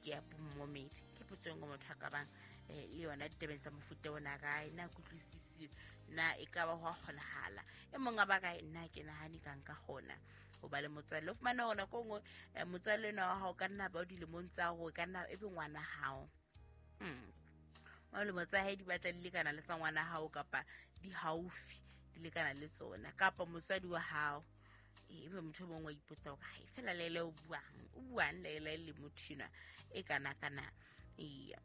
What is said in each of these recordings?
ke ya bommomedi. Ke potso e nngwe motho a ka bang le yona ditabeng tsa mofuta ona kae na kutlwisisi na e ka ba ho a kgonahala. E mong a ba kae nna ke nahane ka nka kgona ho ba le motswalle. O fumane hore nako e nngwe motswalle enwa wa hao ka nna ba o dilemong tsa hore ka nna e be ngwana hao. Dilemo tsa hae di batla di lekana le tsa ngwana hao kapa di haufi di lekana le tsona kapa motswadi wa hao. Ebe motho e mongwe wa ipotsa hore hai fela Leila o buang Leila le motho enwa e kana kana. Eya.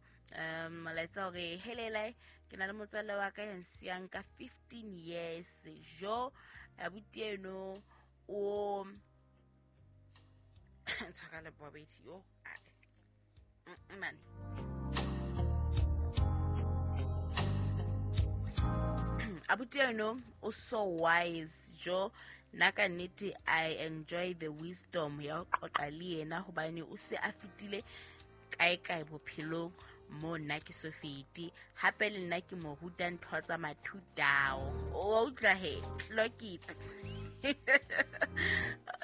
Molaetsa hore he Leila ke na le motswalle wa ka ya nsiyang ka 15 years jo abuti eno o tshwara le bobedi yo man. Abuti eno o so wise jo nna ka nnete I enjoy the wisdom ya ho qoqa le yena hobane o se a fetile kae kae bophelong mo nna ke so fete. Hape le nna ke mo ruta ntho tsa mathutao. O utlwa he, clock it.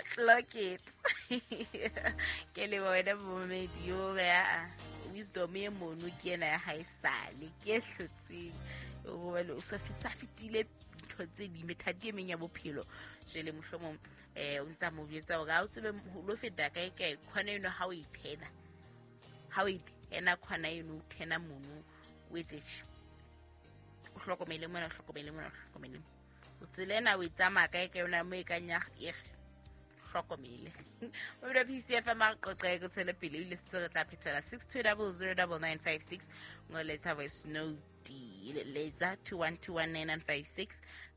Clock it. Ke leboha wena momedi yo ya wisdom e mono ke ena ya haesale ke e hlotseng hobane o so fetile ntho tse ding methati e meng ya bophelo. Jwale mohlomong o ntsa mo jwetsa hore ha o tsebe ho lo feta kae kae khona eno ha o e thena. Ha o e thena khona eno o thena mono o etse tjhe. O hlokomele mona, o hlokomele mona, o hlokomele. O tsela ena o e tsamaya kae kae yona mo e kang ya hlokomele. O bile PCFM a re qoqe ke tshwele pele ebile se re tla phethela 62009956 ngoletsa voice note letsa 21219956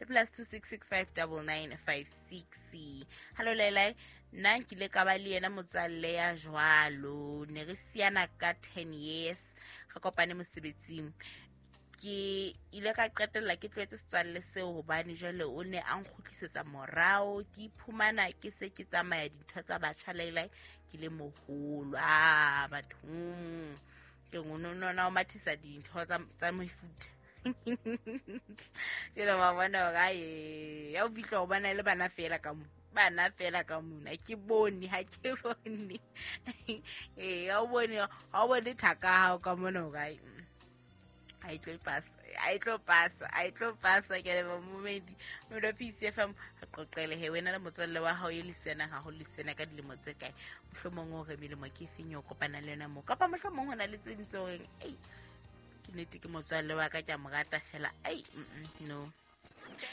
le plus 26659956. Hallo Leila, nna nkile ka ba le yena motswalle ya jwalo, ne re siana ka 10 years re kopane mosebetsing. Ke ile ka qetella ke tlohetse setswalle seo hobane jwale o ne a nkgutlisetsa morao, ke iphumana ke se ke tsamaya dintho tsa batjha Leila ke le moholo. Ah batho ke ngono o mathisa dintho tsa mefuta. Jwale wa bona hore ae ya o fihla ho bona le bana fela ka mo, bana fela ka mona ke bone ha ke bone. Ha o bone thaka hao ka mona hore ae a e tlo pasa ke leboha momedi modo PCFM re qoqele he wena le motswalle wa hao e le sena haholo le sena ka dilemo tse kae, mohlomong o re melemo ke efeng eo kopana le yona moo, kapa mohlomong ho na le tse ding tse horeng ei ke nnete ke motswalle wa ka ke a mo rata fela ai no.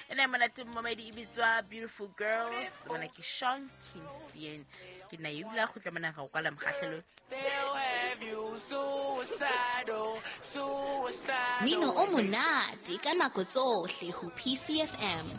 Ena monate momedi e bitswa Beautiful Girls, mona ke Sean Kingston ke nna ebile a kgutla mona ga o kwala mokgahlelong. Mino o monate ka nako tsohle ho PCFM.